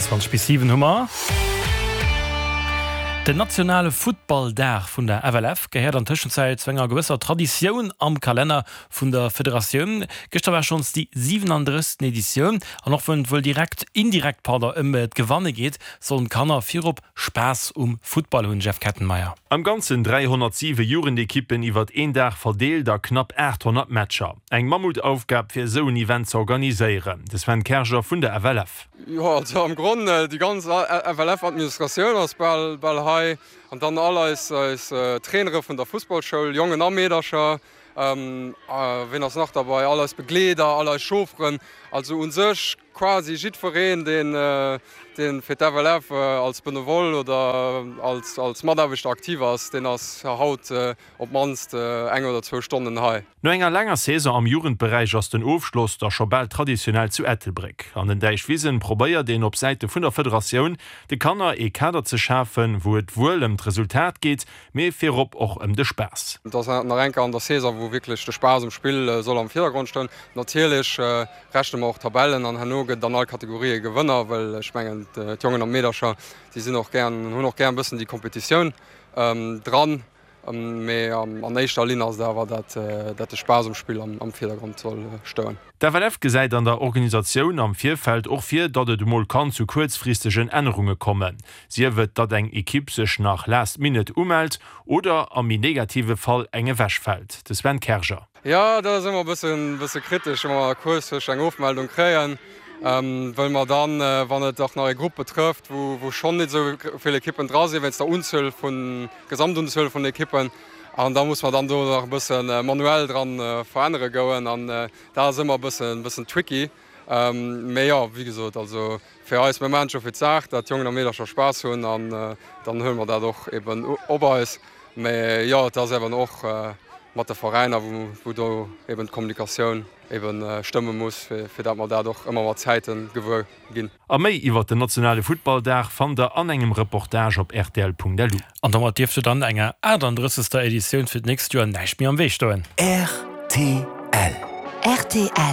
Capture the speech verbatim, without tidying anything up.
zwanzeg bis siwen hu mer. Den nationale Futtballdag vun der F L F gehéiert an Tëschenzäit zu enger gewësser Traditioun am Kalenner vun der Federatioun. Gëschter war schonns déi siwenandrëssegsten Editioun an och wann et wuel direkt, indirekt, pardon, ëm d'Gewanne geet, sollen d'Kanner virop Spaass um Futtball hunn, Jeff Kettenmeyer. Am Ganzen dräihonnertsiwe Jugendekippen iwwer een Dag verdeelt a knapp aathonnert Matcher. Eng Mammutaufgab fir esou en Event ze organiséieren. De Sven Kerger vun der F L F. Jo, also am Gronn déi ganz F L F-Administratioun ass bal, bal hei an dann all eis, eis Trainere vun der Fussballschoul, Jongen a Meedercher, ähm, wien ass nach derbäi, all eis Begleeder, all eis Chaufferen, also u sech quasi jiddwereen, deen, deen fir d'F L F als Benevole oder als, als Mataarbechter aktiv ass, deen ass haut op d'mannst eng oder zwou Stonnen hei. No enger laanger Saison am Jugendberäich ass den Ofschloss da scho bal traditionell zu Ettelbréck. An den Däichwisen probéiert een op Säite vun der Federatioun de Kanner ee Kader ze schafen, wou et wuel ëm d'Resultat geet, mee virop och ëm de Spaass. Et ass nach eng Kéier an der Saison, wou wierklech de Spaass um Spill soll am Virdergrond stoen. Natierlech rechne mer och Tabellen an herno gëtt an all Kategorie Gewënner, well ech mengen d'Jongen an d'Meedercher, déi sinn och gär, hunn och gär e bëssen déi Kompetitioun dran. Mee an éischter Linn ass et awer, dat dat de Spaass um Spill am Virdergrond soll stoen. D'F L F gesäit an der Organisatioun am Virfeld och vir, datt et emol kann zu kuerzfristegen Ännerunge kommen. Sief et, datt eng Ekipp sech nach last minute umellt oder am méi negative Fall eng ewechfält. De Sven Kerger. Jo, dat ass ëmmer e bëssen, bësse kritesch, wa mer kuerzfristeg eng Ofmeldung kréien, well mer dann, wann et och nach e Grupp betrëfft, wou, wou schonn net esou vill Ekippen dra sinn, wéinst der Unzuel vun, Gesamtunzuel vun Ekippen, an da muss mer dann do nach e bësse manuell dran verännere goen an dat ass ëmmer e bëssen, bëssen tricky. Mee jo, wéi gesot, also fir eis, mir maachen et jo fir d'Saach, datt d'Jongen a Meedercher Spaass hunn an dann huele mer dat och eben op eis. Mee jo, et ass eben och mat de Veräiner, wou, wou do eben d'Kommunikatioun eben stëmme muss, fir, fir datt mer dat och ëmmer mat Zäite gewuer ginn. A méi iwwer den nationale Futtballdag fannt der an engem Reportage op R T L Punkt L U. An domat dierft jo dann enger achtandrëssegster Editioun fir d'nächst Joer näischt méi am Wee stoen. R T L. R T L.